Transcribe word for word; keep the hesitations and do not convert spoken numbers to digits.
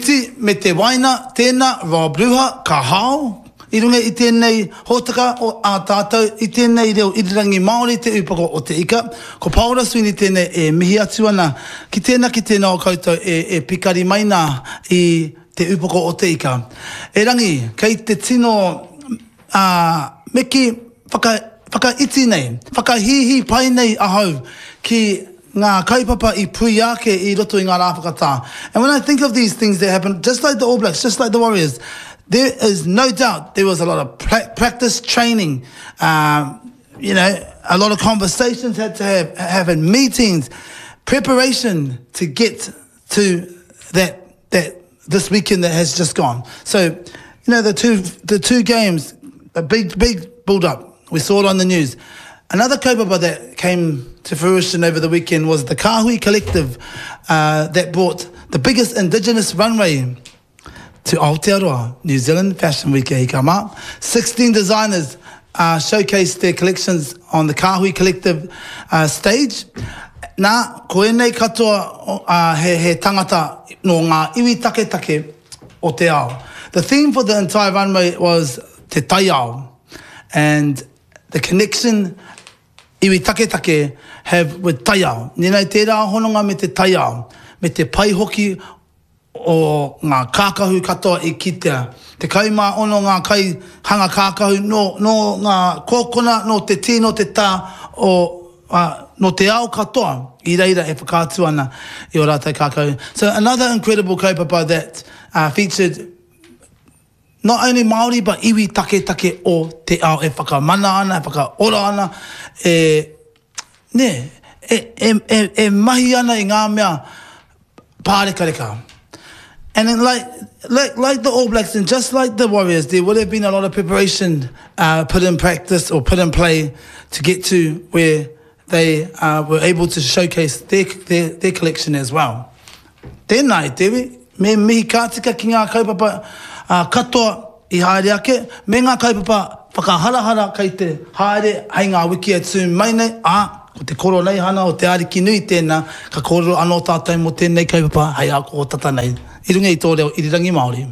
witi me te waina, tēnā, Rob Ruha, ka hao i runga i tēnei hōtaka o ā tātou, i tēnei reo irirangi Māori te upoko o te ika. Ko Paora Sweeney tēnei e mihi atu ana ki tēnā ki tēnā o koutou e, e pikari mai nā i te upoko o te ika. Erangi, kei te tino uh, me kī whaka, whakaiti nei, whakahīhī pai nei ahau ki ngā kaupapa i puia ake i roto i ngā rā whakatā. And when I think of these things that happen, just like the All Blacks, just like the Warriors, there is no doubt there was a lot of practice training, um, you know, a lot of conversations had to have, have meetings, preparation to get to that that this weekend that has just gone. So, you know, the two the two games, a big big build up. We saw it on the news. Another kaupapa that came to fruition over the weekend was the Kahui Collective uh, that brought the biggest indigenous runway to Aotearoa, New Zealand Fashion Week e hika mā. sixteen designers uh, showcased their collections on the Kahui Collective uh, stage. Nā, ko ēnei katoa uh, he, he tangata nō ngā iwi taketake o te ao. The theme for the entire runway was te taiao and the connection iwi taketake have with taiao. Nēnei tērā hononga me te taiao, me te pai hoki o ngā kākahu katoa i kitea. Tekau mā ono ngā kai hanga kākahu nō, nō ngā kōkona, nō te tī, nō te tā, o, uh, nō te ao katoa i reira e whakaatu ana i o rātou kākahu. So another incredible kaupapa that uh, featured not only Māori, but iwi taketake o te ao e whakamana ana, e whakaora ana, e, ne, e, e, e, e mahi ana i ngā mea pārekareka. And then like, like, like the All Blacks and just like the Warriors, there would have been a lot of preparation uh, put in practice or put in play to get to where they uh, were able to showcase their, their, their collection as well. Tēnā e te iwi, me mihi ka tika ki ngā kaupapa uh, katoa i haere ake, me ngā kaupapa whakaharahara kei te haere hei ngā wiki e tū mai nei, ā, ko te koroneihana o te Ariki nui tēnā, ka kōrero anō tātou mō tēnei kaupapa hei āko tata nei. I runga i tō reo irirangi Māori.